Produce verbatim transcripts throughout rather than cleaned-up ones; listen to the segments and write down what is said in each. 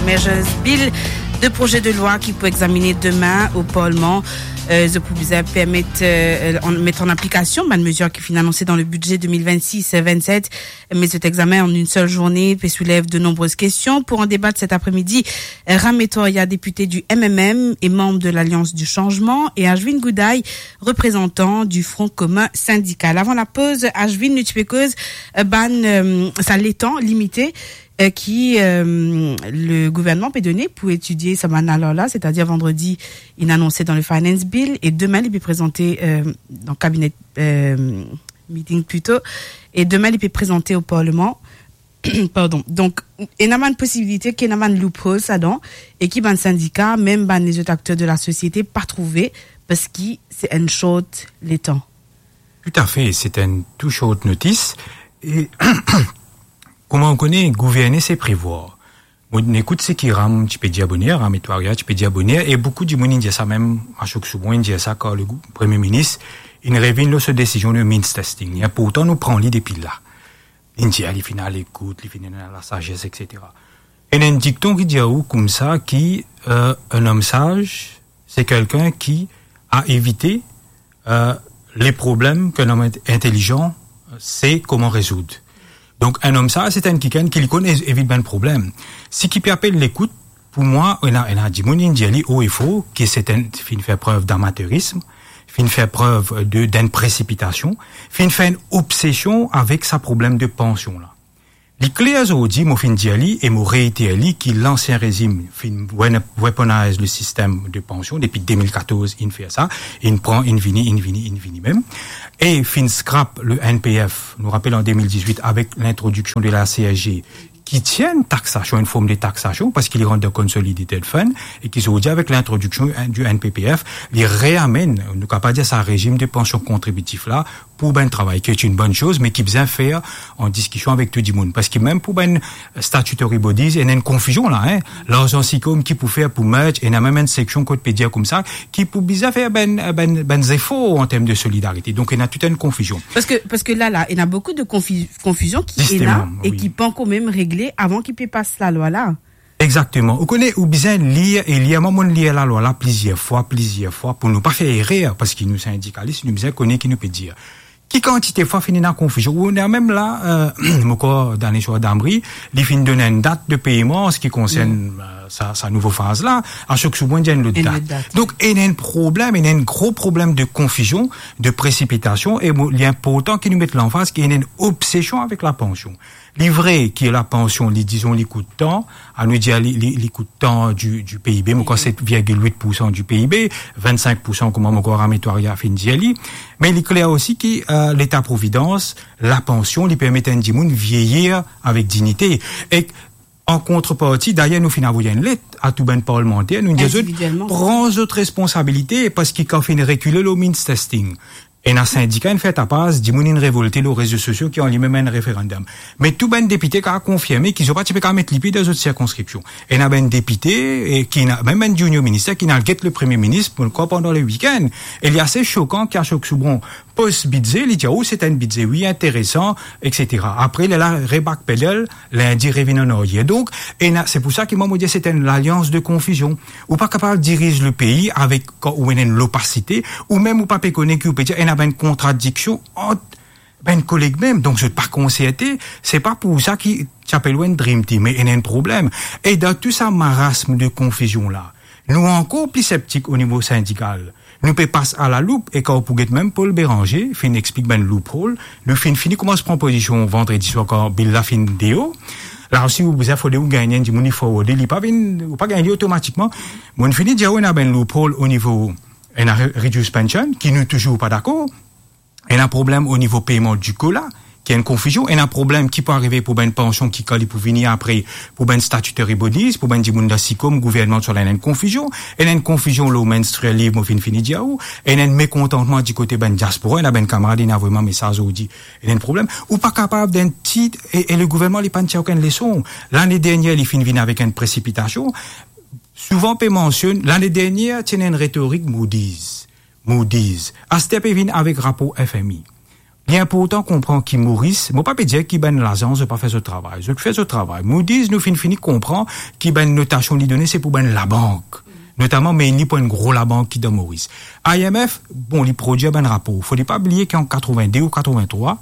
Measures Bill, de proze de lwa ki pou examine demin o Parlman, euh, zot pou bizin permet, euh, an, met an aplikasion bann mezir ki finn anonse dan le bidze de mil vennsis vennset, me zot examen an enn sel zourne pe soulev de nonbrez kestion. Pou an debat set apremidi, euh, Ram Etwaria, depite di M M M e manm de Lalians di Sanzman, e Ashwin Goudaï, reprezantan di Front Commun Syndical. Avan lapoz, Ashwin, nou ti pe koz, euh, bann, euh, sa letan limite, euh, ki, euh, le gouvernman pe done pou etidie sa bann lalwa la, setadir vandredi, inn anonse dan le Finance Bill, e demin, li pe prezante, euh, dan kabinet, euh, meeting plito, e demin, li pe prezante o Parlman. Pardon. Donk, ena bann posibilite ki ena bann loopholes ladan, e ki bann sindika, mem bann lezot akter de lasosiete pa trouve, parski se enn short letan. Toutafe, se enn too short notice. E kouma ou kone, gouverne se prevwar. Mo inn ekout seki Ram ti pe dir boner, Ram Etwaria ti pe dir boner, e boukou dimoun inn dir sa, mem Ashok Soubhon inn dir sa, kan le gou-, Premie Minis inn revinn lor so desizion de means testing. Li inportan nou pran li depi la. Li dir li finn a lekout, li finn ena lasazes, et cetera. Ena enn dikton ki dir ou koumsa ki, euh, un homme sage, c'est quelqu'un qui a évité, euh, les problèmes qu'un homme int-, intelligent sait comment résoudre. Donk, enn om saz, se enn kikenn ki li konn ev-, evit bann problem. Seki pe apel lekout, pou mwa, ena, ena dimoun inn dir li o e fo ki se enn, finn fer prev damaterism, finn fer prev de, d'enn presipitasion, finn fer enn obsesion avek sa problem de pansion la. Li kler zordi, mo finn dir li e mo reiter li ki lansien rezim finn wen-, weaponize le sistem de pansion depi de mil katorz, inn fer sa, inn pran, inn vini, inn vini, inn vini mem, e finn scrap le N P F, nou rapel an de mil dizwit, avek lintrodiksion de la C S G, ki ti enn taksasion, enn form de taksasion, parski li rant dan Consolidated Fund, e ki zordi, avek lintrodiksion du N P P F, li reamenn, nou kapav dir sa, rezim de pansion kontribitif la, pou bann travay, ki est une bonne chose, me ki bizin fer an diskision avek tou dimoun. Parski mem pou bann statutory bodies, ena enn konfizion la, hein. Larzan SICOM ki pou fer pou merge, ena mem enn seksion kot pe dir koumsa, ki pou bizin fer bann, bann, bann zefor an term de solidarite. Donk, ena tou enn konfizion. Parski, parski la, la, ena boukou de konfi-, konfizion ki ena e ki pa ankor mem regle avan ki pe pas lalwa la. Exakteman. Ou kone, ou bizin lir e lir. Mwa, mo'nn lir lalwa la plizier fwa, plizier fwa, pou nou pa fer erer, parski nou sindikalis, nou bizin kone ki nou pe dir. Ki kantite fwa finn ena konfizion? Ou ena mem la, euh, mo krwar Daneswar Damri, li finn donn enn dat de peyman an se ki konsern, euh, sa, sa nouvo faz la, Ashok Soubhon dir enn lot dat. Enn lot dat. Donk, ena enn problem, ena enn gro problem de konfizion, de presipitasion, e mo, li inportan ki nou met lanfaz ki ena enn obsesion avek lapansion. Li vre ki lapansion, li, dizon, li kout tan, anou dir li, li, li kout tan du, du P I B, mo krwar set virgil wit poursan du P I B, vennsink poursan kouma mo krwar Ram Etwaria finn dir li. Me li kler osi ki, euh, Leta Providans, lapansion, li permet enn dimoun vieyir avek dignite. E an kontreparti, dayer, nou finn avoy enn let a tou bann parlmanter, nou dir zot, individielman, pran zot responsabilite, parski kan finn rekile lor means testing, ena sindika inn fer tapaz, dimoun inn revolte lor rezo sosio ki anlim enn referandom. Me tou bann depite kapav konfirme ki zot pa ti pe kapav met lipie dan zot sirkonskripsion. Ena bann depite, e ki ena mem bann junior minister ki inn al get le Premie Minis, mo krwar pandan le wikenn. E li ase sokan ki Ashok Soubhon post bidze, li dir, "Oh, se enn bidze, wi, interesan, et cetera." Apre, li al rebackpedal, lindi revinn an aryer. Donk, ena, se pou sa ki mwa, mo dir, se enn lalians de konfizion. Ou pa kapav diriz le pei avek, kan ou ena enn lopasite, ou mem ou pa pe kone ki ou pe dir, ena bann kontradiksion ant bann koleg mem, donk zot pa konserte, se pa pou sa ki ti apel ou enn dream team, me ena enn problem. E dan tou sa marasm de konfizion la, nou ankor pli septik o nivo sindikal. Nou pe pas a la loup, e kan ou pou get mem Paul Bérenger finn explik bann loophole, nou finn fini koumans pran pozision vandredi swar kan bill la finn deor. La osi, ou bizin fode ou gagn enn dimoun li forward, li pa vinn, ou pa gagn li otomatikman. Mo'nn fini dir ou ena bann loophole o nivo ena re-, reduced pension, ki nou touzour pa dakor. Ena problem o nivo peyman di COLA, ki enn konfizion. Ena problem ki pou arive pou bann pansion ki, kan li pou vini apre, pou bann statutory bodies, pou bann dimoun dan SICOM, gouvernman, sa la ena enn konfizion. Ena enn konfizion lor menstrual leave, mo finn fini dir ou. Ena enn mekontantman di kote bann diaspora, ena bann kamarad inn avoy mwa mesaz ozordi. Ena enn problem. Ou pa kapav dan enn ti, e, e le gouvernman, li pa'nn tir okenn leson. Lane dernier, li finn vinn avek enn presipitasion. Souvan pe mansionn, lane dernier, ti ena enn retorik Moody's. Moody's. Aster pe vinn avek rapor F M I. Li inportan konpran ki Moris, mo pa pe dir ki bann lazans zot pa fer zot travay. Zot fer zot travay. Moody's, nou finn fini konpran ki bann notasion li done, se pou bann labank. Notaman, mainly pou enn gro labank ki dan Moris. I M F, bon, li prodwir bann rapor. Fode pa bliye ki an katrevin-de ou katrevin-trwa,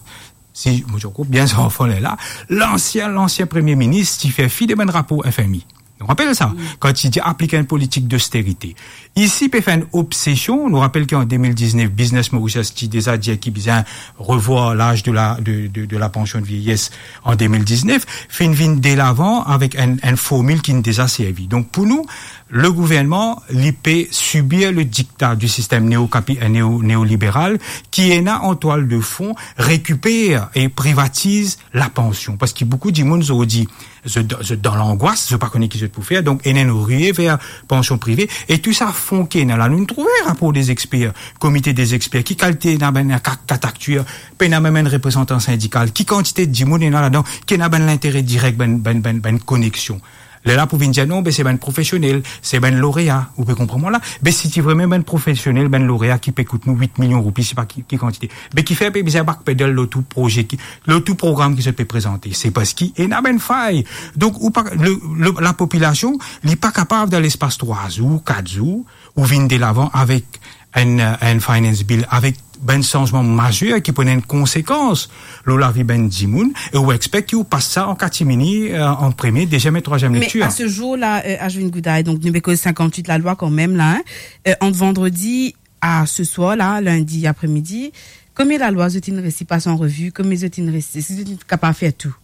si mo ti ankor bien zanfan lerla, lansien, lansien premie minis ti fer fi de bann rapor F M I. Nou rapel sa, kan ti dir aplik enn politik dosterite. Isi, pe fer enn obsesion, nou rapel ki an de mil diznef, Business Mauritius ti deza dir ki bizin revwar laz de la, de, de, de la pansion de vieyes an de mil diznef, finn vinn delavan avek enn, enn formil ki finn deza servi. Donk, pou nou, le gouvernman, li pe sibir le dikta du sistem neokapi-, neo-, neoliberal, ki ena an twal de fon, rekiper e privatiz la pansion. Parski boukou dimoun, zordi, zot, zot dan langwas, zot pa kone ki zot pou fer, donk ena enn rie ver pansion prive, e tou sa fon ki ena la. Nou trouve rapor de zexper, komite de zexper, ki kalite ena bann ka-, kat aktier, pena mem enn reprezantan sindikal, ki kantite dimoun ena ladan, ki ena bann lintere direk, bann, bann, bann, bann koneksion. Lerla pou vinn dir, non, be se bann profesionel, se bann lorea, ou pe konpran mwa la? Be si ti vremem bann profesionel, bann lorea ki pe kout nou wit milion roupi, se pa ki, ki kantite. Be kifer pe bizin backpedal lor tou proze ki, lor tou program ki zot pe prezante? Se parski ena bann fay. Donk, ou pa, le, le, lapopilasion, li pa kapav dan lespas trwa zour, kat zour, ou vinn delavan avek enn, enn finance bill, avek bann sanzman mazer ki pou ena enn konsekans lor lavi bann dimoun, e ou expek ki ou pas sa an katimini, eh, an premie, deziem e trwaziem lektir. Me a se zour la, eh, Ashwin Goudai, donk nou pe koz sinkant-wit lalwa kanmem la, hein. Eh, ant vandredi a se swar la, lindi apremidi, konbien lalwa zot inn resi pas an revi, konbien zot inn resi, eski zot inn kapav fer tou?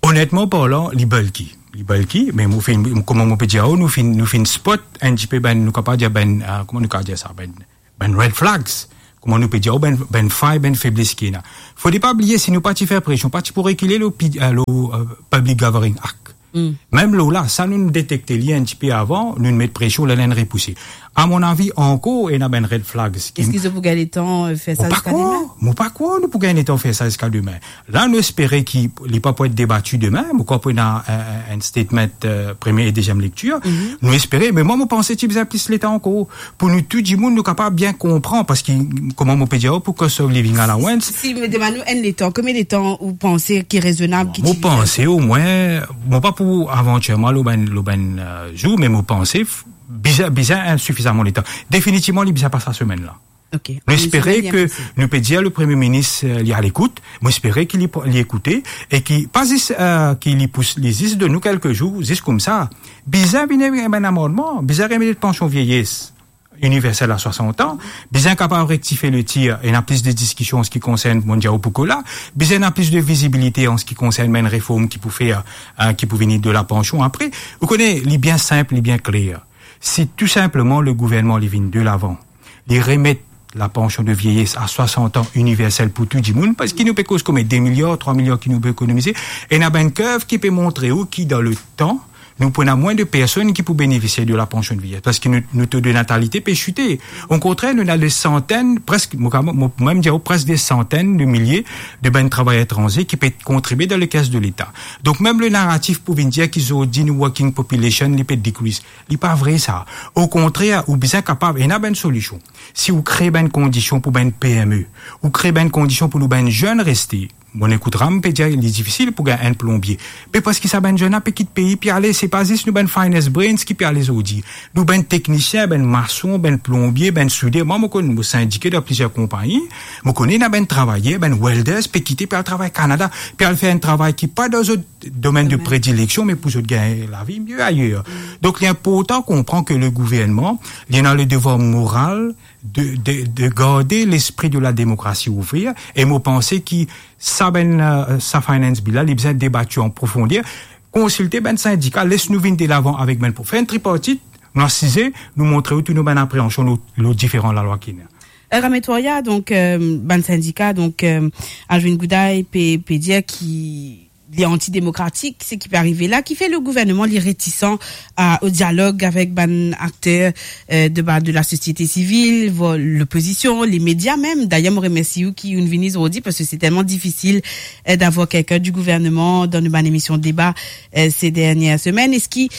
Onetman parlan, li bulky. Li bulky, me mo finn, kouma mo pe dir, oh, nou finn, nou finn spot enn tipe bann, nou kapav dir bann, ah, kouma nou kapav dir sa, bann, bann red flags. Kouma nou pe dir, oh, bann, bann fay, bann febles ki ena. Fode pa bliye, si nou pa ti fer presion, pa ti pou rekile lor pi-, eh, lor, eh, Public Gathering Act. Mem lor la, sa nou'nn detekte li enn tipe avan, nou'nn met presion, lerla inn repouse. A mon avi, ankor ena bann red flags ki... Eski zot pou gagn letan, eh, fer sa ziska demin? Mo pa krwar nou pou gagn letan fer sa ziska demin. La, nou espere ki li pa pou et debati demin, mo krwar pou ena, eh, eh, enn statement, eh, premie e deziem lektir. Nou espere, me mwa, mo panse ti bizin plis letan ankor. Pou nou tou dimoun, nou kapav bien konpran, parski, kouma mo pe dir, pou cost of living allowance. Si, si, me demann nou enn letan, konbien letan ou panse ki rezonab, ki... Mo panse omwin, mo pa pou avantir mwa lor bann, lor bann, eh, zour, me mo panse f-, bizin, bizin enn sifizaman letan. Definitivman, li bizin pas sa semenn la. Ok. Nou espere ke nou pe dir le Premie Minis, eh, li alekout, mo espere ki li, li ekoute, e ki pa zis, eh, ki li pous, li zis donn nou kelke zour, zis koumsa. Bizin vinn avek bann amannman, bizin remet pansion vieyes iniversel a swasant an, bizin kapav rektifie letir, ena plis de diskision an se ki konsern, mo dir ou pou kola, bizin ena plis de vizibilite an se ki konsern bann reform ki pou fer, eh, ki pou vini de la pansion apre. Ou kone, li bien sinp, li bien kler. Si tou sinpleman le gouvernman li vinn delavan, li remet la pansion de vieyes a swasant an iniversel pou tou dimoun, parski nou pe koz konbien, de miliar, trwa miliar ki nou pe ekonomize, ena bann kerv ki pe montre ou ki dan le tan, nou pou ena mwin de personn ki pou benefisie de la pansion de vieyes, parski nou, nou to de natalite pe site. Okontrer, nou ena de santenn, preske, mo, mo, mo mem dir ou, preske de santenn de milie de bann travayer etranze ki pe kontribie dan lekes de Leta. Donk, mem le naratif pou vinn dir ki zordi nou working population, li pe decrease. Li pa vre sa. Okontrer, ou bizin kapav, ena bann solision. Si ou kre bann kondision pou bann P M E, ou kre bann kondision pou nou bann zenn reste, mo ekout ram pe dir li difisil pou gagn enn plonbie. Me parski sa bann zenn la pe kit pei, pe ale, se pa zis nou bann finest brains ki pe ale zordi. Nou bann teknisien, bann mason, bann plonbie, bann souder. Mwa, mo konn, mo sindike dan plizier konpagni. Mo kone ena bann travayer, bann welders, pe kite, pe al travay Kanada, pe al fer enn travay ki pa dan zot domenn de predileksion, me pou zot gagn lavi mie ayer. Donk, li inportan konpran ke le gouvernman, li ena le devwar moral de, de, de garde lespri de la demokrasi ouvrir, e mo panse ki sa bann, eh, sa finance bill la, li bizin debati an profonder, konsilte bann sindika, les nou vinn delavan avek bann pou fer enn tripartit, nou asize, nou montre ou tou nou bann apreansion lor, lor diferan lalwa ki ena. Eh, Ramesh Toria, donk, eh, bann sindika, donk, eh, Ashwin Goudai pe, pe dir ki li antidemokratik, seki pe arive la, ki fer le gouvernman li retisan a, o dialog avek bann akter, eh, de ba-, de la sosiete sivil, vo-, lopozision, le media mem. Dayer, mo remersi ou ki ou'nn vini zordi, parski se telman difisil, eh, d'avoir kelkenn du gouvernman dan nou bann emision deba, eh, se dernie semenn. Eski,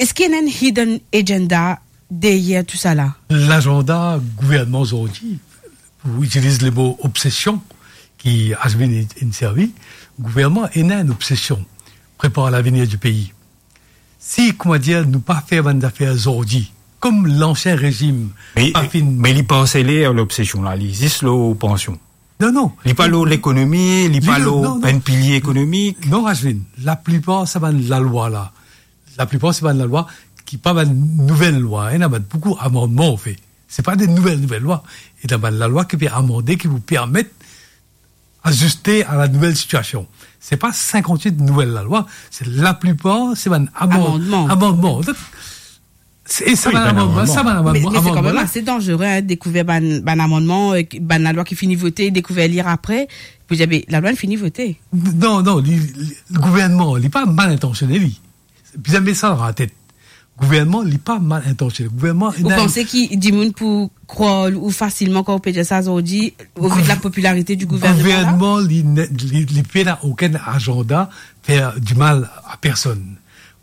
eski ena enn hidden agenda deryer tou sa la? Lazanda gouvernman zordi, pou itiliz lemo obsesion, ki Azmin inn servi, gouvernman ena enn obsesion, prepar lavenir di pei. Si, koumadir, nou pa fer bann zafer zordi, kom lansien rezim Me, pa finn me li pa anseler lor lobsesion la, li zis lor pansion. Non, non. Li pa lor lekonomi, li pa lor non, non. Bann pilie ekonomik. Non, Azmin, laplipar sa bann lalwa la, laplipar sa bann lalwa ki pa bann nouvel lwa, ena bann boukou amandman, anfet. Se pa de nouvel, nouvel lwa. Ena bann lalwa ki pe amande, ki pou permet aziste a la nouvel sitiasion. Se pa sinkant-wit nouvel lalwa, se laplipar, se bann amand-, Amandman. Amandman. Donk, se, e sa Wi, bann bann amandman, amandman. Sa bann amandman, Me, me se kanmem amandman la. Ase danzere, hein, dekouver bann, bann amandman, euh, ki, bann lalwa ki fini vote, dekouver li apre, pou dir, be, lalwa fini vote. Non, non, li, li, gouvernman, li pa mal intansione, li. Bizin met sa dan latet. Gouvernman, li pa mal intansione. Gouvernman, Ou ena panse ki dimoun pou krwar ou fasilman kan ou pe dir sa zordi, au vu de la popularité du gouvernement, là? Gouvernman, li ne, li, li pena okenn azanda fer dimal a personn.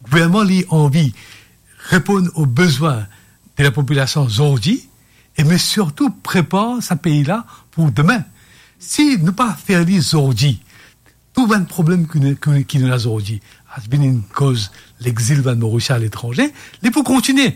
Gouvernman, li anvi reponn o bezwin de lapopilasion zordi, e me sirtou prepar sa pei la pou demin. Si nou pa fer li zordi, tou bann problem ki nou, ki, ki nou ena zordi, Azmin inn koz lexil bann Morisien aletranze, li pou kontigne.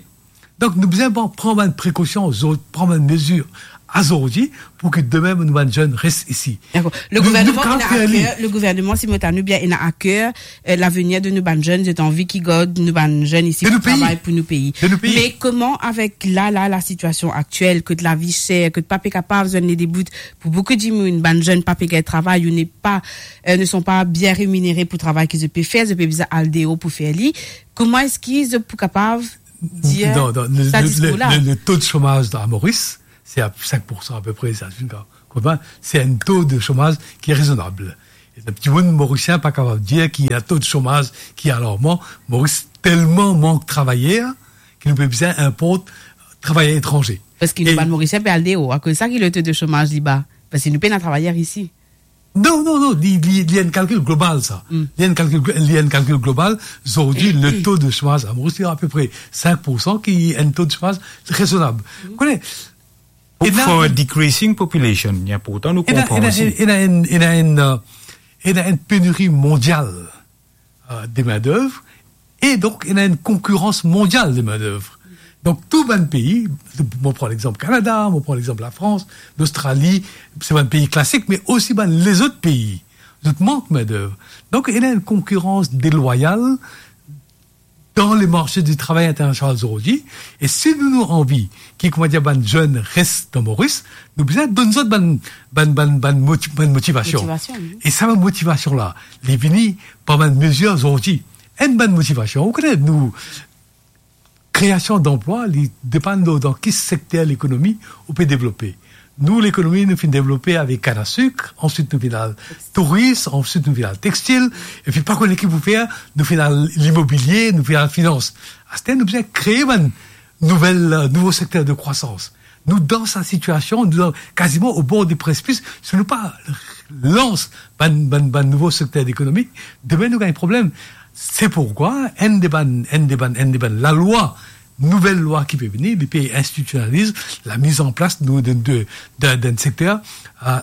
Donk, nou bizin pran, pran bann prekosion, zor-, pran bann mezir azordi pou ki demin nou bann zenn res isi. Dakor. Le Nou, nou gouvernement, kapav ena fer li. Aker, le gouvernement, si mo tann ou bien, ena aker, euh, lavenir de nou bann zenn, zot anvi ki gard nou bann zenn isi De nou pou travay pei. Pou nou pei. De nou pei. Me koman avek la, la, la sitiasion aktiel, kot lavi ser, kot pa pe kapav zwenn ledebout pou boukou dimoun, bann zenn pa pe gagn travay, ou ne pa, euh, ne sont pas bien rémunérés pou travay ki zot pe fer, zot pe bizin al deor pou fer li. Koman eski zot pou kapav dir Non, non, le, sa le, diskour le, la? Le, le to de somaz a Moris, se a sink poursan apepre, sa, se enn ka, konpran? Se enn to de somaz ki rezonab. E dimoun Morisien pa kapav dir ki ena to de somaz ki alarman. Moris telman mank travayer ki nou pe bizin inport travayer etranze. Paski nou E bann Morisien pe al deor, akoz sa ki le to de somaz li ba. Paski nou pena travayer isi. Non, non, non, li, li, li enn kalkil global, sa. Mm. Li enn kalkil glo-, li enn kalkil global. Zordi, le to de somaz a Moris, li apepre sink poursan, ki enn to de somaz rezonab. Mm. Kone, Pou ena, for a decreasing population, li inportan nou ena, konpran ena, osi. Ena enn, ena enn, euh, ena enn peniri mondial, euh, de main-d'œuvre, e donk, ena enn konkirans mondial de main-d'œuvre. Donk, tou bann pei, mo pran lexanp Kanada, mo pran lexanp Lafrans, Lostrali, se bann pei klasik, me osi bann lezot pei, zot mank main-d'œuvre. Donk, ena enn konkirans delwayal dan le marse di travay internasional zordi. E si nou, nou anvi ki, koumadir, bann zenn res dan Moris, nou bizin donn zot bann, bann, bann, bann moti-, bann motivasion. Motivasion, wi. E sa bann motivasion la, li vini par bann mezir zordi. Enn bann motivasion, ou kone, nou, kreasion danplwa, li depann dan, dan ki sekter lekonomi ou pe devlope. Nou, lekonomi, nou finn devlope avek kann a sik, answit nou finn al touris, answit nou finn al textil, epi pa kone ki pou fer, nou finn al limobilie, nou finn al finans. Aster, nou bizin kree bann nouvel, euh, nouvo sekter de krwasans. Nou dan sa sitiasion, nou dan, kaziman o bor de presipis, si nou pa lans bann, bann, bann nouvo sekter ekonomik, demin nou gagn problem. Se pourkwa enn de bann, enn de bann, enn de bann lalwa, nouvel lwa ki pe vini, li pe institisionaliz lamiz an plas nou de, de, de, d'enn sekter, euh,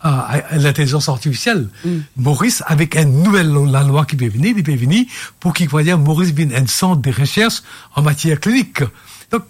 euh, lintelizans artifisiel. Mm. Moris, avek enn nouvel lo-, lalwa ki pe vini, li pe vini pou ki, koumadir, Moris vinn enn sant de resers an matier klinik. Donk,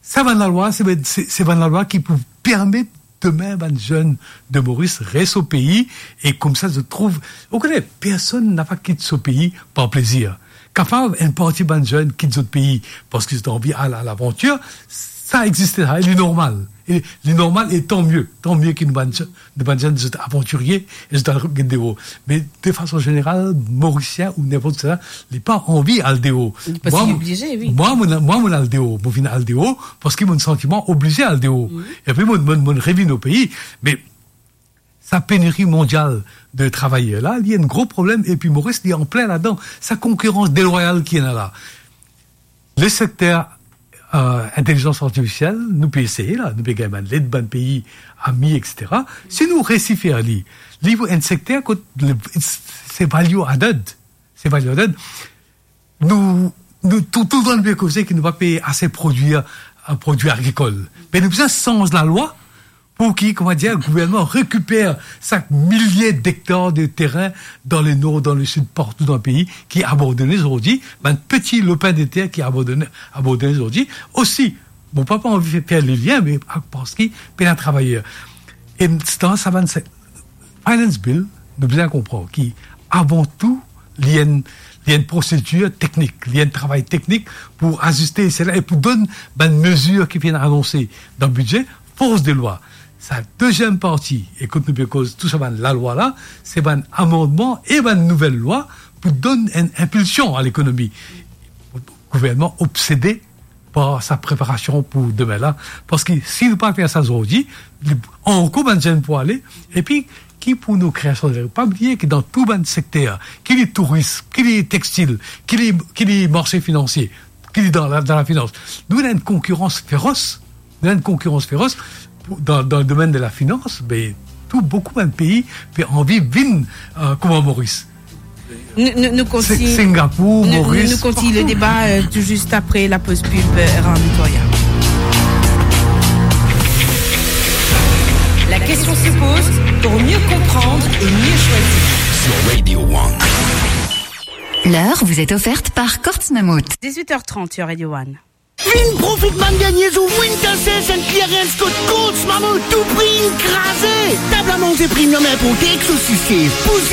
sa bann lalwa, se, se, se bann lalwa ki pou permet demin bann zenn de Moris res o pei, e koumsa zot trouv, ou kone, personn napa kit so pei par plezir. Kapav enn parti bann zenn kit zot pei parski zot anvi al a lavantir, sa existe, sa, e li normal. E li normal, e tan mie, tan mie ki nou bann zenn, nou bann zenn, zot avantirie, e zot al gagn deor. Me de fason zeneral, Morisien ou ninport ki sa, li pa anvi al deor. Paski Mwa, li oblize, wi. Mwa, mo, mwa, mo al deor, mo vinn al deor, parski mo santi mwa oblize al deor. Mhm. Epi mo, mo, mo revinn o pei. Me sa peniri mondial de travayer la, li enn gro problem, epi Moris, li anplin ladan. Sa konkirans delwayal ki ena la. Le sekter, euh, intelizans artifisiel, nou pe eseye la, nou pe gagn bann led, bann pei ami, et cetera. Si nou resi fer li, li pou enn sekter kot le, se value added, se value added. Nou, nou tou, toultan nou pe koze ki nou pa pe ase prodwir, euh, prodwi agrikol. Me nou bizin sanz lalwa Pou ki, kouma dir, gouvernman rekiper sak milie dektar de terin dan le nor, dan le sid, partou dan pei, ki abandone zordi, bann peti lopin de ter ki abandone, abandone zordi. Osi, mo pa, pa anvi fer, fer le lien, me parski pena travayer. E dan sa bann se-, Finance Bill, nou bizin konpran ki, avan tou, li enn, li enn prosedir teknik, li enn travay teknik pou aziste sela e pou donn bann mezir ki finn anonse dan bidze, fors de lwa. Sa deziem parti, e kot nou pe koz tou sa bann lalwa la, se bann amandman e bann nouvel lwa pou donn enn inpilsion a lekonomi. Gouvernman obsede par sa preparasion pou demin la, parski si nou pa fer sa zordi, li, ankor bann zenn pou ale, epi ki pou nou kreasion de, pa bliye ki dan tou bann sekter, ki li touris, ki li textil, ki li, ki li marse finansie, ki li dan la, dan lafinans, nou ena enn konkirans feros, nou ena enn konkirans feros pou, dan, dan le domenn de lafinans, be, tou, boukou bann pei pe anvi vinn, euh, kouma Moris. Nou, nou, nou kontign-, Singapour, nou, Moris, nou kontign le deba, euh, tou zis apre la poz pib, euh, Erhan Victoria. La question se pose pour mieux comprendre et mieux choisir. Sur Radio One. L'heure vous est offerte par Courts Mammouth. Dix-huit heures trente sur Radio One. Vinn profit bann dernie zour Winter Sale Saint Clearance kot Courts Mammouth, tou pri inn kraze. Tab a manze premium inporte ek sosis chef, pou